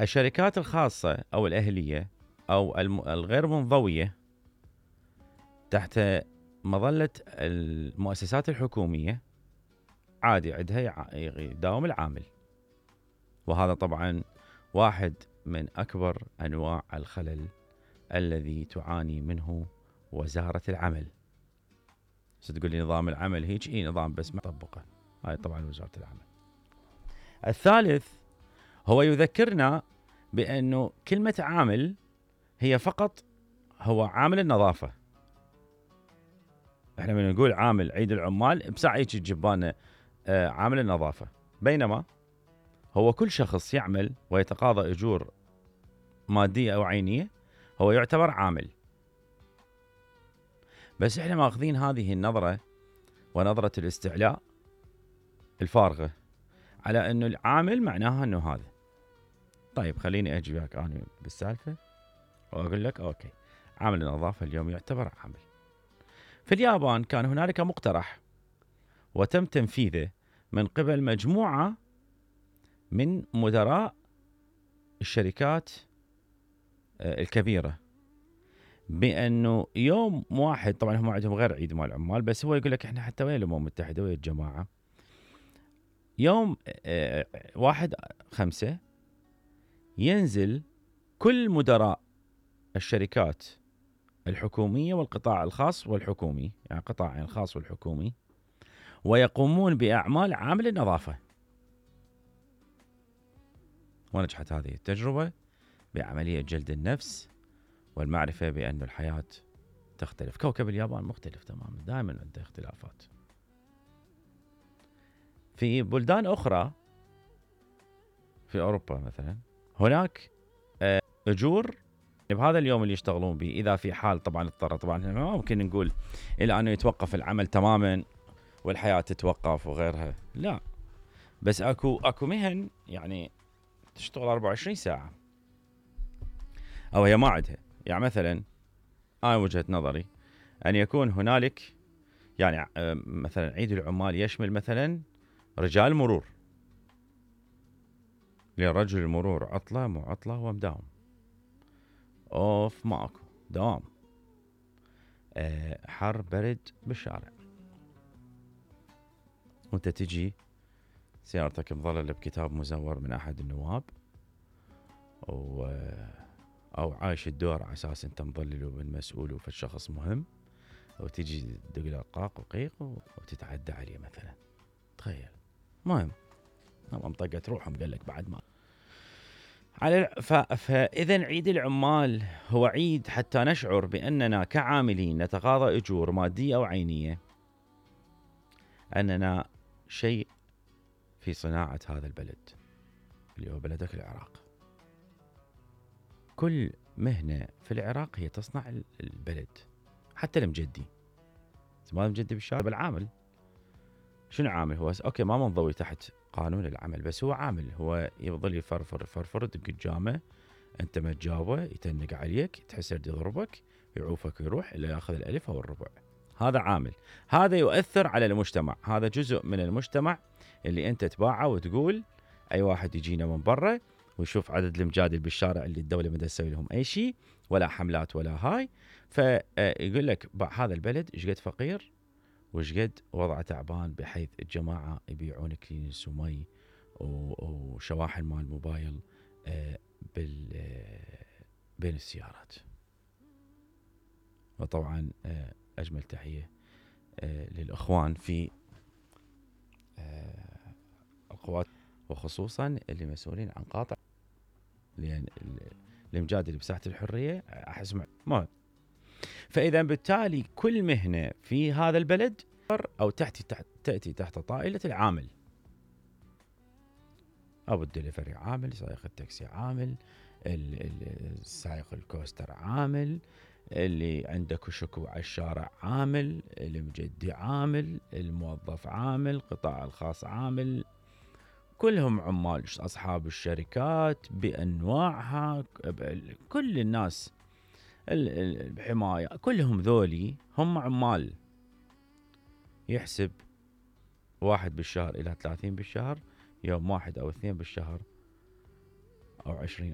الشركات الخاصة أو الأهلية أو الغير منضوية تحت مظلة المؤسسات الحكومية عادي عندها يداوم العامل، وهذا طبعا واحد من أكبر أنواع الخلل الذي تعاني منه وزارة العمل. ستقول لي نظام العمل هيك، نظام بس ما طبقه، هاي طبعا وزارة العمل. الثالث هو يذكرنا بأنه كلمة عامل هي فقط هو عامل النظافة. احنا من نقول عامل عيد العمال بساعة هيك تجيبانا عامل النظافة، بينما هو كل شخص يعمل ويتقاضى أجور مادية أو عينية هو يعتبر عامل. بس احنا ماخذين هذه النظرة ونظرة الاستعلاء الفارغة على انه العامل معناها انه هذا. طيب خليني اجي وياك انا بالسالفة واقول لك اوكي، عامل النظافة اليوم يعتبر عامل. في اليابان كان هنالك مقترح وتم تنفيذه من قبل مجموعة من مدراء الشركات الكبيرة، بأنه يوم واحد، طبعا هم عندهم غير عيد مال العمال، بس هو يقول لك احنا حتى ويا الأمم المتحدة ويا الجماعة يوم 1/5 ينزل كل مدراء الشركات الحكومية والقطاع الخاص والحكومي، يعني قطاعين الخاص والحكومي، ويقومون بأعمال عامل النظافة. ونجحت هذه التجربة بعملية جلد النفس والمعرفة بأن الحياة تختلف. كوكب اليابان مختلف تماما، دائما عنده اختلافات. في بلدان أخرى في أوروبا مثلا هناك أجور بهذا اليوم اللي يشتغلون به، إذا في حال طبعا اضطر، طبعا ما ممكن نقول إلى أنه يتوقف العمل تماما والحياة تتوقف وغيرها، لا، بس أكو مهن يعني تشتغل 24 ساعة أو هي ما عندها. يعني مثلا أنا وجهة نظري أن يكون هنالك يعني مثلا عيد العمال يشمل مثلا رجال مرور، لرجل المرور عطلة مو عطلة هو مداوم، اوف ماكو دوام، حر برد بالشارع، وانت تجي سيارتك مظللة بكتاب مزور من احد النواب او عايش الدور على اساس انت مظلل ومن مسؤول وفي شخص مهم، وتجي تدق له قاق وقيق وتتعدى عليه مثلا. تخيل، مهم منطقة روحهم قال لك بعد ما فإذا عيد العمال هو عيد حتى نشعر بأننا كعاملين نتقاضى أجور مادية أو عينية، أننا شيء في صناعة هذا البلد اللي هو بلدك العراق. كل مهنة في العراق هي تصنع البلد، حتى المجدي، ما المجدي بالشارع بالعامل. شنو عامل؟ هو أوكي ما منضوي تحت قانون العمل، بس هو عامل، هو يظل يفرفر دق الجامة، انت ما تجاوبه يتنق عليك، تحس يضربك يعوفك ويروح الا ياخذ الالف او الربع. هذا عامل، هذا يؤثر على المجتمع، هذا جزء من المجتمع اللي انت تباعه وتقول اي واحد يجينا من برا ويشوف عدد المجادل بالشارع اللي الدوله ما تسوي لهم اي شيء ولا حملات ولا هاي، فيقول لك هذا البلد ايش قد فقير وايش قد وضعه تعبان، بحيث الجماعه يبيعون كلينس ومي وشواحن مال موبايل بين السيارات. وطبعا أجمل تحية للأخوان في القوات، وخصوصا اللي مسؤولين عن قاطع، لأن المجادل بساحة الحرية أحس مهم. فإذا بالتالي كل مهنة في هذا البلد أو تأتي تحت طائلة العامل. أبو الدليفري عامل، سائق التاكسي عامل، سائق الكوستر عامل، اللي عنده كشك على الشارع عامل، المجدي عامل، الموظف عامل، القطاع الخاص عامل، كلهم عمال، أصحاب الشركات بأنواعها، كل الناس الحماية، كلهم ذولي هم عمال. يحسب 1 بالشهر إلى 30 بالشهر، يوم 1 أو 2 بالشهر او 20